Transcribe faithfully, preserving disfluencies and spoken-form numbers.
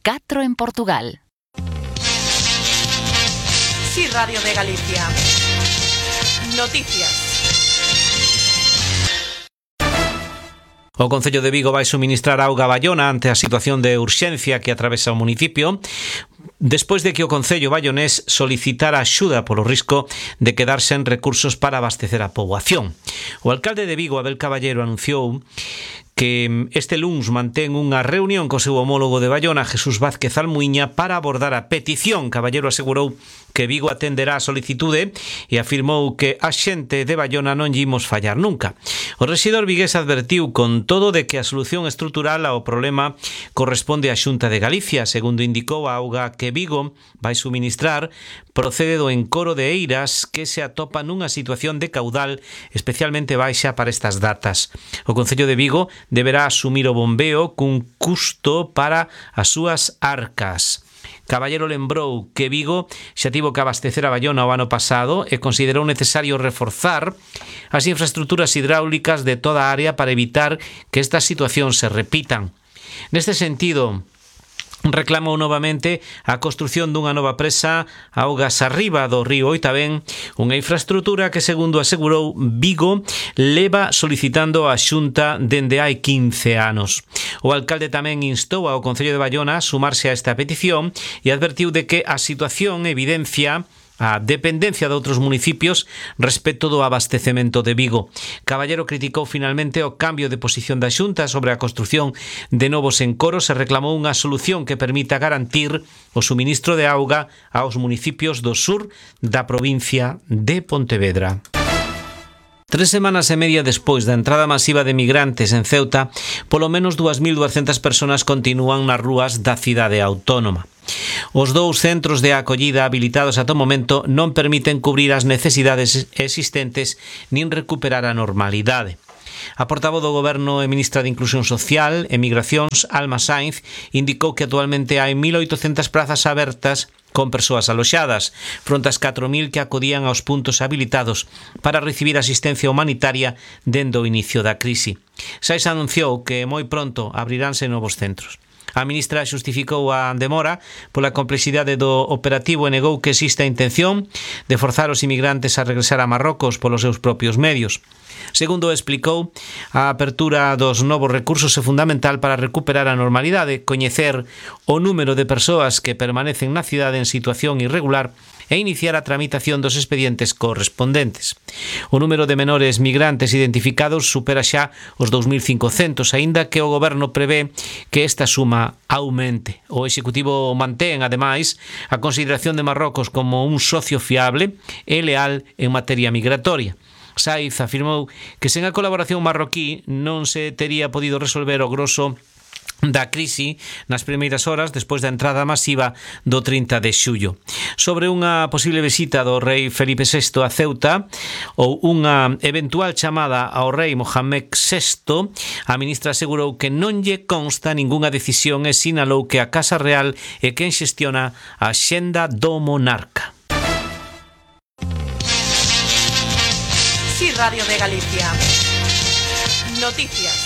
catro en Portugal. Sí, Radio de Galicia. Noticias. O Concello de Vigo vai suministrar auga a Baiona ante a situación de urxencia que atravesa o municipio, despois de que o Concello baionés solicitara axuda polo risco de quedar sen recursos para abastecer a poboación. O alcalde de Vigo, Abel Caballero, anunciou que este luns mantén unha reunión co seu homólogo de Baiona, Jesús Vázquez Almuiña, para abordar a petición. Caballero asegurou que Vigo atenderá a solicitude e afirmou que a xente de Baiona non lle imos fallar nunca. O rexedor vigués advertiu con todo de que a solución estrutural ao problema corresponde á Xunta de Galicia. Segundo indicou, a auga que Vigo vai suministrar procede do encoro de Eiras, que se atopa nunha situación de caudal especialmente baixa para estas datas. O Concello de Vigo deberá asumir o bombeo cun custo para as súas arcas. Caballero lembrou que Vigo xa tivo que abastecer a Baiona o ano pasado e considerou necesario reforzar as infraestructuras hidráulicas de toda a área para evitar que estas situacións se repitan. Neste sentido, reclamou novamente a construción dunha nova presa augas arriba do río Oitabén, unha infraestructura que, segundo asegurou, Vigo leva solicitando a Xunta dende hai quince anos. O alcalde tamén instou ao Concello de Baiona a sumarse a esta petición e advertiu de que a situación evidencia a dependencia de outros municipios respecto do abastecemento de Vigo. Caballero criticou finalmente o cambio de posición da Xunta sobre a construción de novos encoros e reclamou unha solución que permita garantir o suministro de auga aos municipios do sur da provincia de Pontevedra. Tres semanas e media despois da entrada masiva de migrantes en Ceuta, polo menos dúas mil duascentas persoas continúan nas rúas da cidade autónoma. Os dous centros de acollida habilitados ata o momento non permiten cubrir as necesidades existentes nin recuperar a normalidade. A portavoz do Goberno e ministra de Inclusión Social e Migracións, Alma Sainz, indicou que actualmente hai mil oitocentas prazas abertas con persoas aloxadas, fronte ás catro mil que acudían aos puntos habilitados para recibir asistencia humanitaria dende o inicio da crise. Sainz anunciou que moi pronto abriránse novos centros. A ministra xustificou a demora pola complexidade do operativo e negou que existe a intención de forzar os inmigrantes a regresar a Marrocos polos seus propios medios. Segundo explicou, a apertura dos novos recursos é fundamental para recuperar a normalidade, coñecer o número de persoas que permanecen na cidade en situación irregular e iniciar a tramitación dos expedientes correspondentes. O número de menores migrantes identificados supera xa os dous mil cincocentos, aínda que o Goberno prevé que esta suma aumente. O Executivo mantén, ademais, a consideración de Marrocos como un socio fiable e leal en materia migratoria. Sainz afirmou que sen a colaboración marroquí non se tería podido resolver o grosso da crise nas primeiras horas despois da entrada masiva do trinta de xullo. Sobre unha posible visita do rei Felipe sexto a Ceuta ou unha eventual chamada ao rei Mohamed sexto, a ministra asegurou que non lle consta ningunha decisión e sinalou que a Casa Real é quen xestiona a axenda do monarca. Sí, Radio de Galicia. Noticias.